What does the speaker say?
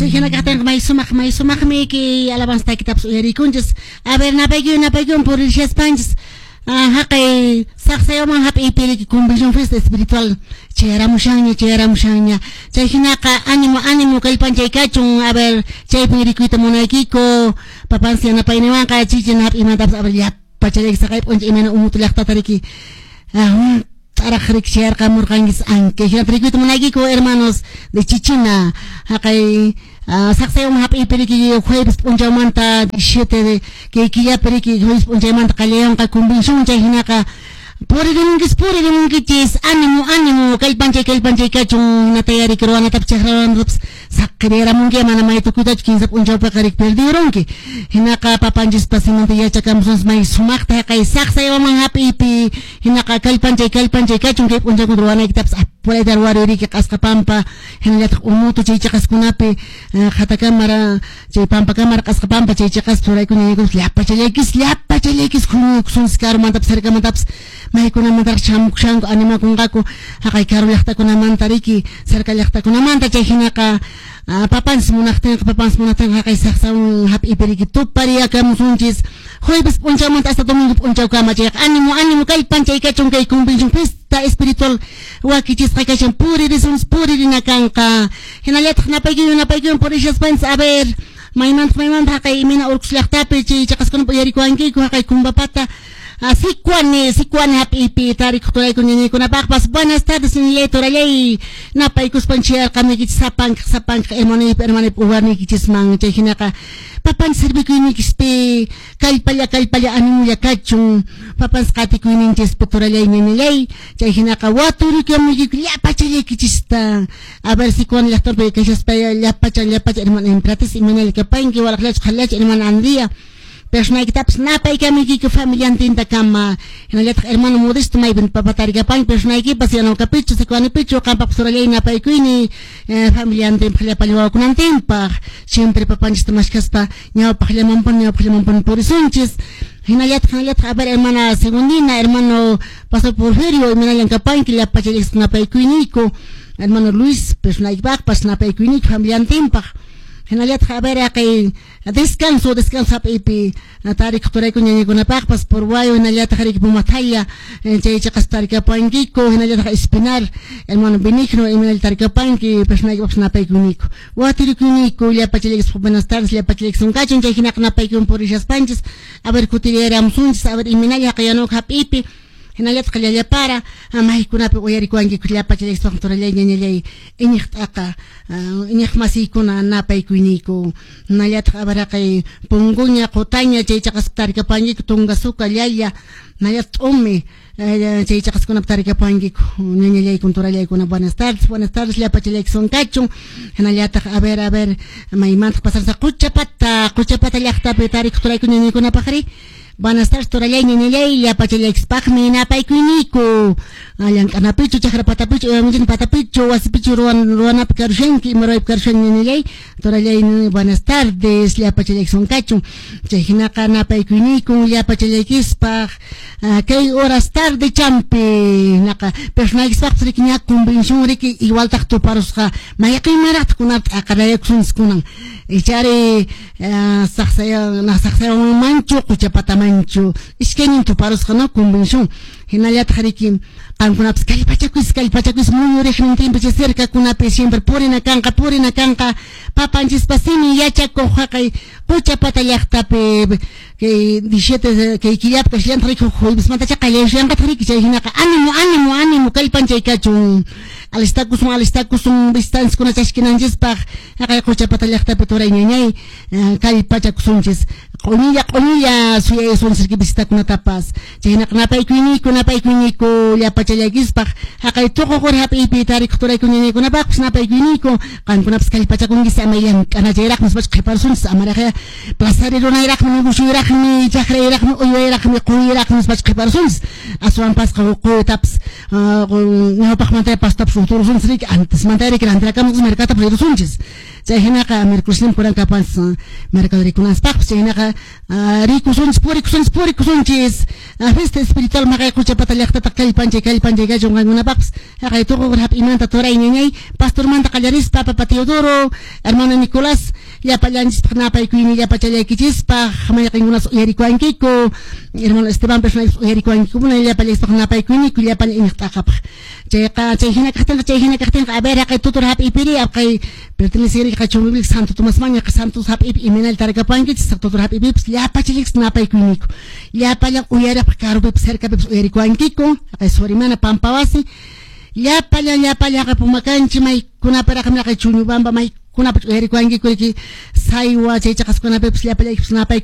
Chay hina kaqtinqa may sumaq, may sumaqmi kay alabanza takitapas uyarikunchis. A ver, napaykun, napaykun purishaspanchis. Haqay saqsayaman hap'iypi riki convención fiesta espiritual chayaramushanña, chayaramushanña. Chay hinaqa ánimo, ánimo kallpanchay kachun. A ver, chaypin rikuyta munaykiku. Papansi yanapayniwanqa chichina hap'iymantapas a ver llapachallayki saqay p'uncha imayna umutu llaqtata riki. T'araq riki chayarqamurqankis anke. Hinata rikuyta munaykiku hermanos de Chichina. Haqay saqsayaman hap'iypi riki jueves p'unchawmanta 17 de kay killapi riki jueves p'unchaymanta qallayanqa convención chay hinaqa puririmunkis puririmunkichis ánimo ánimo kallpanchay kallpanchay kachun hinata yariki ruwanatapas chakra ruwanatapas saqiriramunki mana may tukuytachu kinsa p'unchawpiqa riki perdirunki hinaqa papanchispas simanta yachakamusunchis may sumaqta haqay saqsayaman hap'iypi hinaqa kallpanchay kallpanchay kachun kay p'unchawkuna ruwanaykitapas apurayta ruwaririki q'asqa pampa hinallataq umutu chay chiqaskunapi qhatakamara chay pampakamara q'asqa pampa chay chiqaspi ruraykuna llapachallaykis llapachallaykis huñuykusunchis karumantapas cercamantapas maykunamantaraq chamukushanku animakunqaku haqay karu llaqtakunamanta riki cerca llaqtakunamanta chay hinaqa papanchis munaqtinqa papanchis munaqtinqa haqay saqsawan hap'iypi riki tupariyakamusunchis jueves p'unchawmanta hasta domingo p'unchawkama chayqa ánimo ánimo kallpanchay kachun kay convención fiesta espiritual wakichisqa kashan puririsunchis puririna kanqa hinallataq napaykuywan napaykuywan purishaspanchis a ver maymanta maymanta haqay imayna urqus llaqtapi chay chiqaskunapi uyarikuwankiku haqay kumbapata Sicuani, Sicuani hap'iypi tarikuq turayku ñañaykunapaqpas. Buenas tardes, ñañay turallay. Napaykuspan chayarqamuykichis sapankaq sapankaq hermanaypa hermanaypa uwarniykichisman. Chay hinaqa papanchis servikuyniykichispi kallpalla kallpalla animulla kachun. Papanchis qatikuyninchispi turallay ñañallay. Chay hinaqa waturikamuykiyku llapachallaykichista. A ver, Sicuani llaqtapi kashaspa llapacha llapacha hermana Emperatriz imaynalla kapanki walaqllachu qhallachu hermana Andrea. Personaykitapas napaykamuykiku familiantinta kama hinallataq hermano Modesto maypin papatarikapanki personaykipas yanawkapichu Sicuanipichu qampaqpas turallay napaykuyni familiantinpaq llapallan wawakunantinpaq siempre papanchista mashkaspa ñawpaqllamanpuni ñawpaqllamanpuni purisunchis hinallataq hinallataq a ver hermana Segundina hermano Pastor Porfirio imaynallan kapanki llapachallaykichis napaykuyniyku hermano Luis personaykipaqpas napaykuyniku familiantinpaq hinallataq a ver haqay descanso descanso hap'iypi tarikuq turayku ñañaykunapaqpas Purwayo hinallataq riki Pumathaya chay chiqas tarikapankiku hinallataq Espinar hermano Benigno imaynalla tarikapanki personaykipaqpas napaykuyniku watirikuyniku llapachallaykichis buenas tardes llapachallaykichis kachun chay hinaqa napaykuywan purishaspanchis a ver kutiriyaramusunchis a ver imaynalla haqay yanuka hap'iypi hinallataq llallapara maykunapi uyarikuwankiku llapachallaykichis turallay ñañallay iñiq t'aqa iñiq masiykuna napaykuyniku hinallataq a ver haqay Punguña Qutaña chay chiqaspi tarikapankiku Tungasuca Llalla hinallataq T'umi chay chiqaskunapi tarikapankiku ñañallaykuna turallaykuna buenas tardes llapachallaykichis kachun hinallataq a ver maymantaq pasarsa Quchapata Quchapata llaqtapi tarikuq turayku ñañaykunapaqri. Buenas tardes, turallay, ñañallay, llapachallaykispaqmi napaykuyniku. Llank'anapichu, chakra patapichu, uyamunchina patapichu, wasipichu ruwanapi karushanki, ima ruwaypi karushanki ñañallay, turallay, buenas tardes, llapachallaykichis kachun. Chay hinaqa napaykuyniku llapachallaykispaq kay horas tarde champi hinaqa personaykispaqpas riki ña convención riki igualtaq tuparusqa mayqinmanraqtaq kunata t'aqarayakusunchis kunan ichari saqsayawanmanchu quchapatamanchu iskaynin tuparusqa no convención hinallataq riki qamkunapas kallpachakuysi kallpachakuysi muyuriqnintinpi chay cercakunapi siempre purina kanqa papanchispa simin yachakuq haqay Quchapata llaqtapi kay 17 kay killapi kashallantaq riki juevesmantacha qallayushanqataq riki chay hinaqa ánimo ánimo ánimo kallpanchay kachun alistakusun alistakusun visitantiskuna chashkinanchispaq haqay Quchapata llaqtapi turay ñañay kallpachakusunchis q'uñilla q'uñilla suyayusunchis riki visitakunatapas chay hinaqa napaykuyniku napaykuyniku llapachallaykispaq haqay tuququri hap'iypi tarikuq turayku ñañaykunapaqpas napaykuyniku qamkunapas kallpachakunkis ama llank'anachayraqmi nispachu qhiparusunchis amaraqya plazari runayraqmi negocioyraqmi chakrayraqmi uywayraqmi quyraqmi nispachu qhiparusunchis aswanpasqa quytapas ñawpaqmanta pastapas uturusunchis riki antesmanta riki rantirakamusunchis mercatapas rirusunchis. Chay hinaqa miércoles kuran kapanchis mercadorikunaspaqpas. Chay hinaqa rikusunchis, purikusunchis, purikusunchis. Fiesta espiritual maqay quchapata llaqtata kallpanchay, kallpanchay kachun qankunapaqpas. Haqay tuqukur hap'imanta turay ñañay, pastormanta qallarispa, papa Teodoro, hermano Nicolás, llapallanchispaq napaykuyni llapachallaykichispaq, mayqinkunas uyarikuwankiku, hermano Esteban personal uyarikuwankiku, llapallaykispaq napaykuyniku, llapallan iñiq t'aqapaq. Chayqa chay hina kaqtinqa, a ver, haqay tutur hap'ipiri, haqay perteneceriqa Chumbivilcas Santo Tomás maña Santos hap'ipi imaynalla tarkapankichis, tutur hap'ipipas llapachallaykichis napaykuyniku. Llapallan uyariqpaq karupipas cercapipas uyarikuwankiku, haqay Surimana Pampawasi, llapallan llapallan haqay Pumakanchi maykunaparaqmi haqay Chuñubamba maykunapas uyarikuwankiku riki saywa chay chaqaskunapipas llapallaykipas napaykuy.